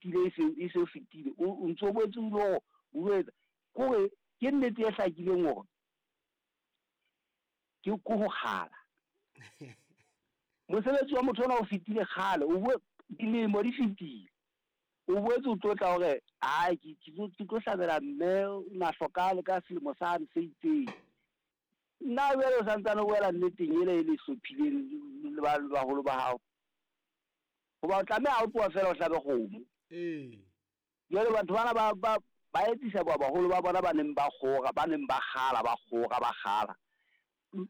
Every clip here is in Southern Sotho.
Fetile e se e se fetile o ntso o boetse o ilo o etsa kore ke nnete e hlakileng hore ke ko ho kgala. Mosebetsi wa motho ona o fetile kgale, o bue dilemo di fetile. O boetse o tlo tla hore ai ke ke tlo hlabela mme o na hlokahale ka selemo sane se itseng. Nna jwale o santsane o boela nneteng ele e le hlophileng le ba baholo ba hao. Hoba o tlameha ha o tloha feela o hlabe kgomo. Ee. Jwale batho bana ba ba ba etsisa ba baholo ba bona ba neng ba kgora, ba neng ba kgala, ba kgora, ba kgala.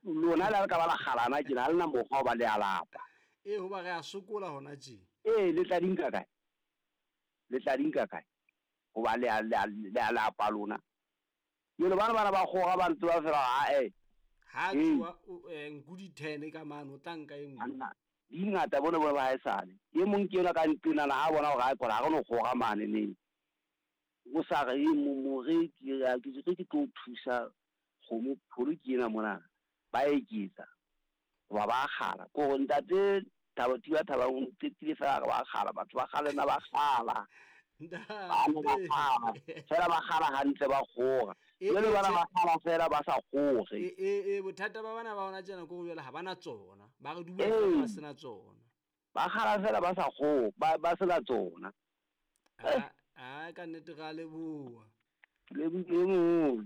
Lona le ha le ka ba la kgalana tjena, ha le na mokgwa hoba le a lapa. Ee, hoba re a sokola hona tje. Ee, le tla di nka kae? Le tla di nka kae? Hoba le a le a le a lapa lona. Jwale bana bana ba kgora ba ntse ba fela ae. Ha tsoa nku di 10 ka mane o tla nka e nngwe. Banna di ngata bone bone ba haesale. E mong ke enwa ka nqenana ha bona hore hae kona ha re no kgora mane neng. O sa re e more ke ke ke tlo thusa kgomo pholo ke ena mona. Ba eketsa. Hoba ba kgala. Ko re ntate Thabo Thiba Thabang o qetile fela re ba kgala batho ba kgale na ba kgala. Bana ba kgala fela ba kgala hantle ba kgora. Jwale bana ba kgala fela ba sa kgore. E bothata ba bana ba hona tjena ke hore jwale ha bana tsona. Ba re dula fela ba sena tsona. Ba kgala fela ba sa kgore, ba sena tsona. A ka nnete ra leboha. Lebohile moholo.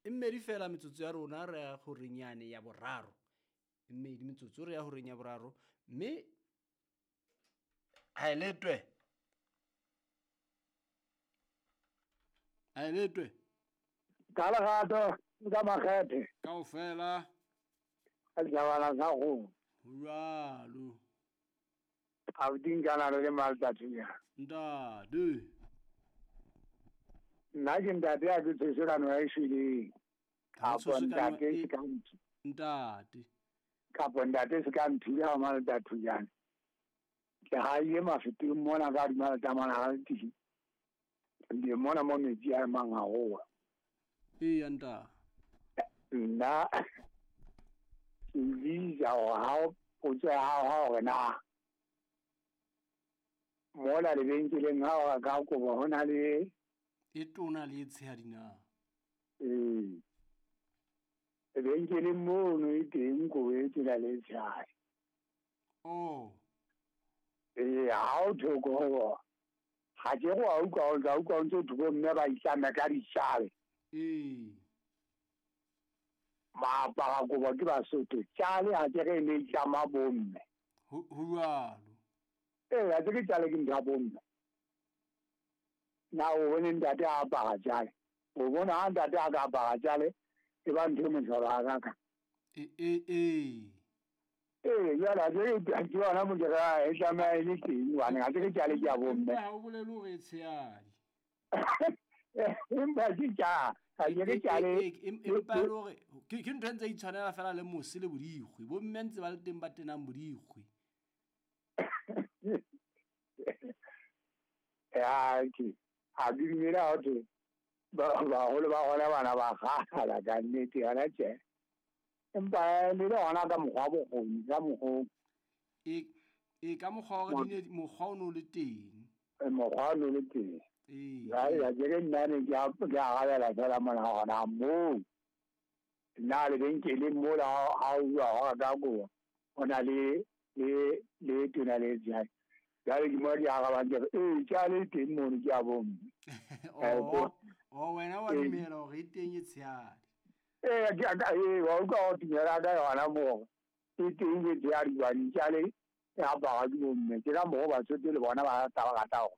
E mmedi fela metsotso ya rona re ya horeng yane ya boraro. E mmedi metsotso re ya horeng ya boraro mme ha e letwe. Ha e letwe. Ka lerato ka makgethe. Kaofela. Ka dijabana tsa kgomo. Ho jwalo. Abuti Nkanalo le Malta Thunyana. Ntate. Nna ke ntate a ke tshoswe ka noha e shweleng. Kapo ntate se ka nthu. Ntate. Kapo ntate se ka nthula ha Malta Thunyana. Ke haile mafeteng mona ka hodima letama la Alti. Ke mona mo metsi a emang haholo. Eya ntate. Nna ke bitsa hore ha potso ya hao ha hore na mola lebenkeleng ha o reka kobo ho na le e tona le e tshehadi na? Ee, lebenkeleng mono e teng kobo e tona le e tshehadi. Oh. Ee, ha o thoko ho ga ke go a utlwa o tla utlwa o ntse o thoko mme ba itlame ka ditšale. Ee. Ba apara kobo ke Basotho. Tšale ga ke re e ne itlama bomme. Ho jwalo. Ee, ga ke re tšale ke ntho ya bomme. Na o bone ntate a apara tšale? O bona ha ntate a ka apara tšale e ba ntho e mohlolo hakaka. Ee. Ee, jwale ha ke re ke yona mo ke re e tlameha e le teng hobane ga ke re tšale ke ya bomme. Empa ha o bolele hore e tshehadi. Empa ke tša ga ke re tšale. Empa e le hore ke ntho e ntse e itshwanela fela le mose le bodikgwe. Bomme ntse ba le teng ba tenang bodikgwe. Ya ke ha ke dumele ha thwe baholo ba gona bana ba kgala ka nnete yona tje. Empa le le gona ka mokgwa bokgoni ka mokgwa. E ka mokgwa wa di mokgwa o no le teng. Mokgwa o no le teng. Ee. Ya ke re nna ne ke a arabela fela mona gona moo. Nna lebenkeleng mola ha o bua hore ka kobo o na le le tona le tshehadi. Jwale ke mo ke arabang ke re ee tjale e teng mono ke ya bomme. Oh, wena wa dumela hore e teng e tshehadi. Ee, ke ka ee wa utlwa ho dumela ka yona moo e teng e tshehadi hobane tjale e aparwa ke bomme. Ke ka mokgwa Basotho le bona ba rata ba rata hore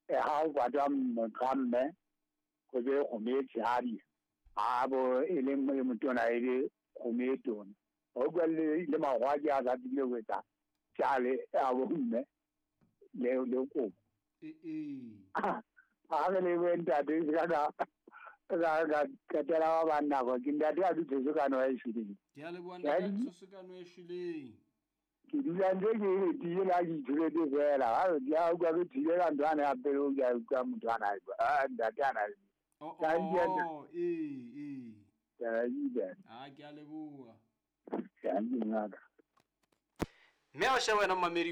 ha o patwa motho wa mme go be kgomo e tshehadi ha bo e le e motona e le kgomo e tona. O utlwa le makgowa ke a sa tsebile ho etsa tjale ya bomme le kobo. Ee. Ha re lebohe ntate se ka ka qetela ba bang nako ke ntate a dutse se ka noha e shweleng. Ke a leboha ntate a se ka noha e shweleng. Ke dula ntse ke letile la ke ithuletse fela. Ha ke a utlwa ke thile ka ntho ane ya pele ke a utlwa motho ana a ntate ana. Oh, ee. Ke a ile. Ah, ke a leboha. Ke a ngaka. Mme a o sheba wena momamedi.